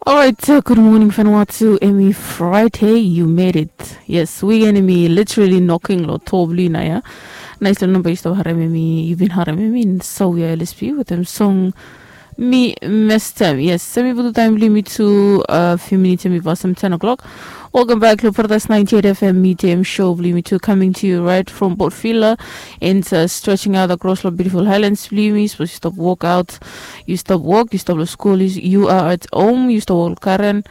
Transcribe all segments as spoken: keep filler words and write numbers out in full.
Orait, gud moning Vanuatu. Em i Friday, you made it. Yes, weekend em i literally knocking lo to blong yu nao ia. Nais lo namba yu stap harem em i, yu bin harem em i in Sawia L S P wetem song Mi Mestem. Yes, em i putum taem blong yumi tu, a few minutes em i pasem ten o'clock. Welcome back lo Paradise ninety-eight F M Midday Show blong yumi tu, coming to you right from Port Vila and uh, stretching out across lo beautiful highlands blong yumi. Sapos yu stap workout, yu stap wok, yu stap lo skul, yu are at home, yu stap wok lo garen.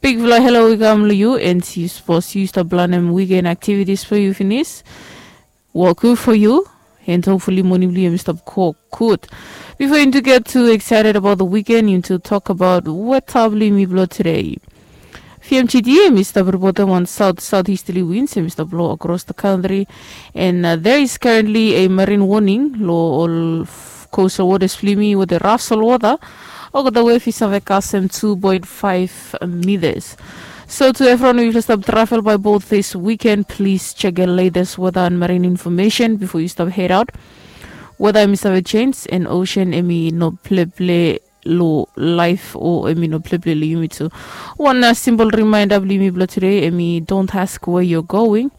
Bigfala hello i kam lo yu, and yu sapos yu stap planem weekend activities blong yu finis, wok gud fo yu. And hopefully moning blong yu em i stap go gud. Before you get too excited about the weekend, you to talk about weather blong yumi blo today. V M G D em i stap ripotem wan south southeasterly winds em i stap blo across the country, and uh, there is currently a marine warning lo ol coastal waters blong yumi wetem raf solwota. Olgeta wef i save kasem two point five meters. So to everyone who stop travel by boat this weekend, please check your latest weather and marine information before you stop head out. Weather em i save change and ocean em i no pleple lo life o em i no pleple lo yumi tu. Wan uh, simple reminder blong yumi blo today em i don't ask where you're going.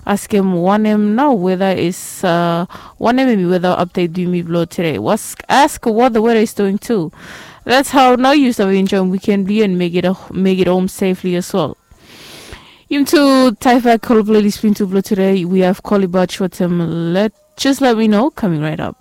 Askem wanem nao weather is uh, wanem em i weather update blong yumi blo today. Ask, ask what the weather is doing too. That's how now you start enjoying weekend blong you and make it a, make it home safely as well. Yumi tu taifak kolo playlist blong yumi tu blo today. We have Collie Batch wetem let, just let me know coming right up.